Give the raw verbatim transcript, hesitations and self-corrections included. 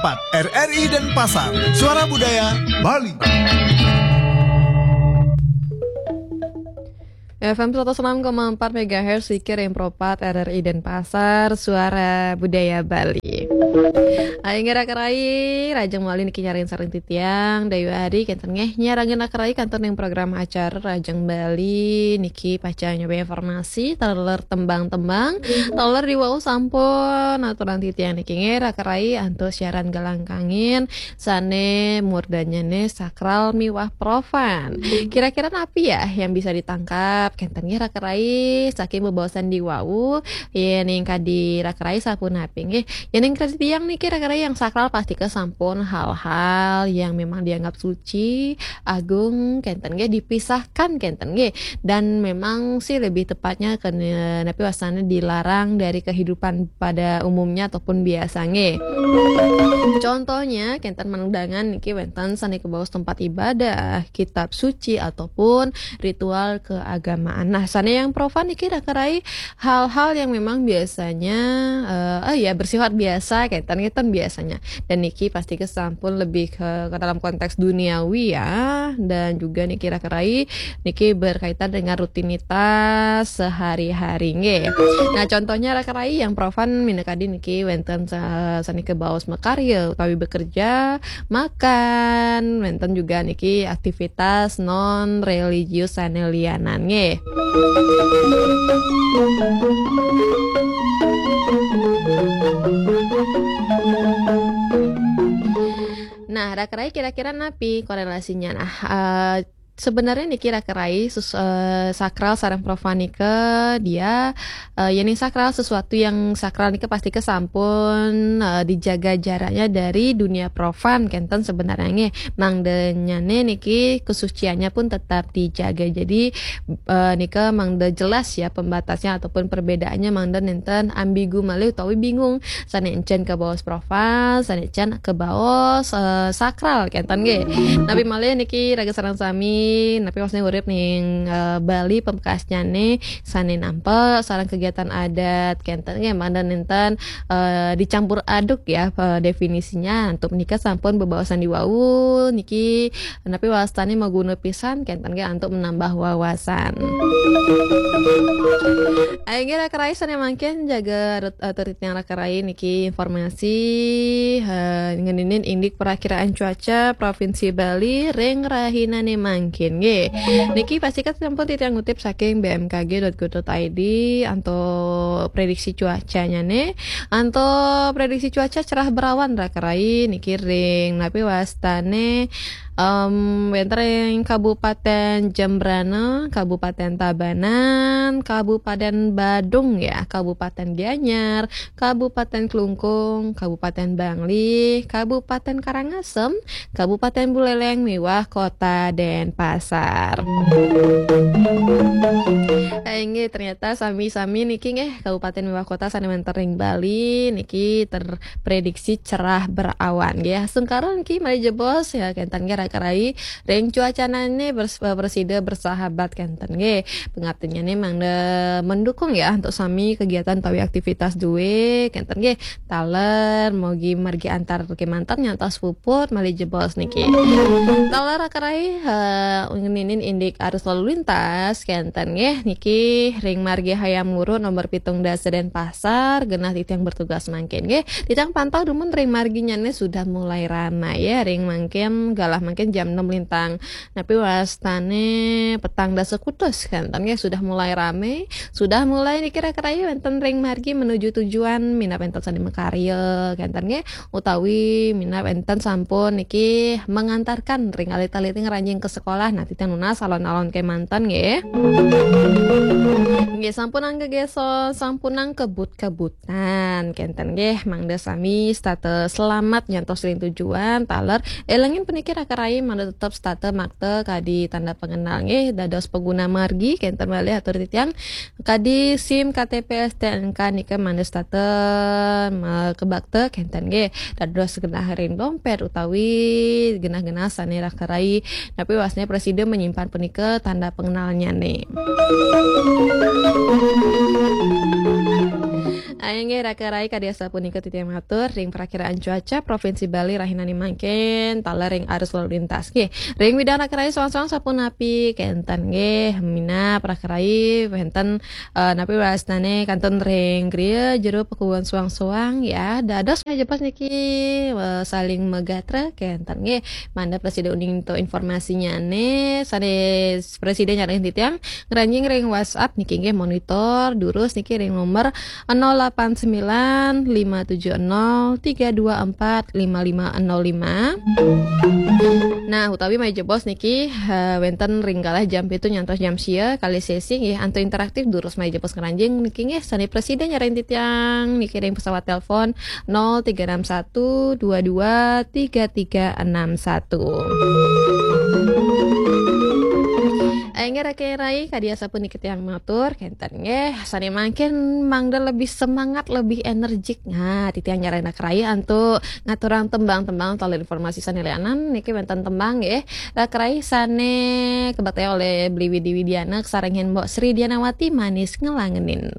at R R I Denpasar, Suara Budaya Bali. F M seratus enam koma empat megahertz, Sikir Impropat, R R I Denpasar, Suara Budaya Bali. Ai ngira kerai, rajang mawali niki nyarengin sareng titiang, Dayu Ari, kenten nggih, nyarengin kerai kantor ning program acara Rajang Bali, niki pacang nyoba informasi, taler tembang-tembang, taler diwau sampun, aturan titiang niki nggih, kerai antuk siaran galang kangin, sane murdanyane sakral miwah profan. Kira-kira napi ya yang bisa ditangkap? Kenten nggih kerai saking bebaosan diwau, yen ing kadi kerai sapunapi nggih. Yen ing kadi tiang niki kerai yang sakral pasti kesampun hal-hal yang memang dianggap suci, agung, kenten nggih, dipisahkan kenten nggih. Dan memang sih lebih tepatnya kena napi wasane dilarang dari kehidupan pada umumnya ataupun biasa nggih. Contohnya, kenten mandangan niki wenten sane kebaos tempat ibadah, kitab suci ataupun ritual keagamaan. Nah, sane yang profan niki kerai hal-hal yang memang biasanya eh, eh, ya bersifat biasa kenten kenten biasanya. Dan niki pasti kesampun lebih ke, ke dalam konteks duniawi ya. Dan juga niki kerai niki berkaitan dengan rutinitas sehari-hari nggih. Nah, contohnya kerai yang profan minakadi niki wenten sa- sane kebaos makarya utawi bekerja, makan, wenten juga niki aktivitas non religius sane lianan nggih. Nah, kerai kira-kira napi korelasinya? Nah, eh, sebenarnya niki kerai sus- eh, sakral sareng profan nika dia eh, yen sakral sesuatu yang sakral nika pasti kesampun eh, dijaga jaraknya dari dunia profan kenten sebenarnya nggih. Mangdenyane niki kesuciannya pun tetap dijaga. Jadi eh, nika mangde jelas ya pembatasnya ataupun perbedaannya mangde nenten ambigu malih utawi bingung. Sane encen kebaos profan, sane encen kebaos eh, sakral kenten nggih. Napi malih niki raga sareng sami, napi maksudnya urip ning eh, Bali pamekasnyane sane nampa sareng kegiatan adat kenten nggih mangda nenten eh, dicampur aduk ya eh, definisinya. Untuk menika sampun bebaosan diwau niki napi wastane maguna pisan kenten nggih untuk menambah wawasan. Ayo nggih kerai sane mangkin jaga rut- eh, turit yang kerai niki informasi eh, ngeninin indik perakiraan cuaca Provinsi Bali ring rahinane mangkin nggih. Niki pasti kan sampun titiang ngutip saking B M K G dot go dot I D anto prediksi cuacanya nih. Anto prediksi cuaca cerah berawan kerai niki ring napi wastane em wenten ring Kabupaten Jembrana, Kabupaten Tabanan, Kabupaten Badung ya, Kabupaten Gianyar, Kabupaten Klungkung, Kabupaten Bangli, Kabupaten Karangasem, Kabupaten Buleleng miwah Kota Denpasar. Eh, inggih ternyata sami-sami niki nggih kabupaten miwah kota sane wenten ring Bali niki terprediksi cerah berawan nggih. Sungkara niki malih jebos ya kenten nggih kerai ring cuacanane bers- bersida bersahabat kenten nggih. Pangaptinyane mangda mendukung ya untuk sami kegiatan utawi aktivitas duwe kenten nggih. Taler mogi margi antar kemanten nyantos puput malih jebos niki. Taler kerai eh, ngeninin indik arus lalu lintas kenten nggih niki ring margi Hayam Wuruk nomor pitung dasa Denpasar genah titiang bertugas mangkin nggih. Titiang pantau dumun ring marginyane sudah mulai ramai ya ring mangkin galah mangkin jam enam lintang. Napi wastane petang dasa kutus kenten nggih sudah mulai rame, sudah mulai niki kerai wenten ring margi menuju tujuan minab wenten sane makarya kenten nggih utawi minab wenten sampun niki mengantarkan ring alit-alit ngranjing ke sekolah. Nah, titiang nunas alon-alon kemanten nggih. Nggih sampunang gegeson, sampunang kebut-kebut. Nah, kenten nggih, mangda sami setata selamat nyantos ring tujuan, taler elengin puniki raka rai mangda tetep setata makta kadi tanda pengenal nggih, dados pengguna margi kenten malih atur titiang kadi SIM, K T P, S T N K nika mangda setata ma-, kebakta kenten nggih, dados genah ring dompet utawi genah-genah sane raka rai napi wasne prasida menyimpan punika tanda pengenalnyane. Ayo nggih, Raka Rai, kadi asapunika titiang matur ring prakiraan cuaca Provinsi Bali rahinane mangkin taler ring arus lalu lintas nggih. Ring widang Raka Rai soang-soang sapunapi kenten nggih, minab Raka Rai wenten, eh, napi wastanane kantun ring griya jero pakubuhan soang-soang ya. Dados majepos niki, eh, saling magatra kenten nggih. Mangda prasida uning to informasinyane sane prasida nyarengin titiang ngranjing ring WhatsApp niki nggih, monitor durus niki ring nomor nol delapan sembilan lima tujuh nol tiga dua empat lima lima nol lima. Nah, utawi majepos niki, eh, wenten ring galah jam pitu nyantos jam sia kali sesi nggih, antuk interaktif durus majepos ngranjing niki nggih, sane prasida nyarengin titiang niki ring pesawat telepon nol tiga enam satu dua dua tiga tiga enam satu. Inggih Raka Rai, kadi asapunika titiang matur kenten nggih, sane mangkin mangda lebih semangat, lebih energik. Nah, titiang nyarengin Raka Rai antuk ngaturang tembang-tembang taler informasi sane lianan niki wenten tembang nggih. Raka Rai sane kabaktayang oleh Beli Widi Widiana sareng Mbok Sri Dianawati, Manis Ngelangenin.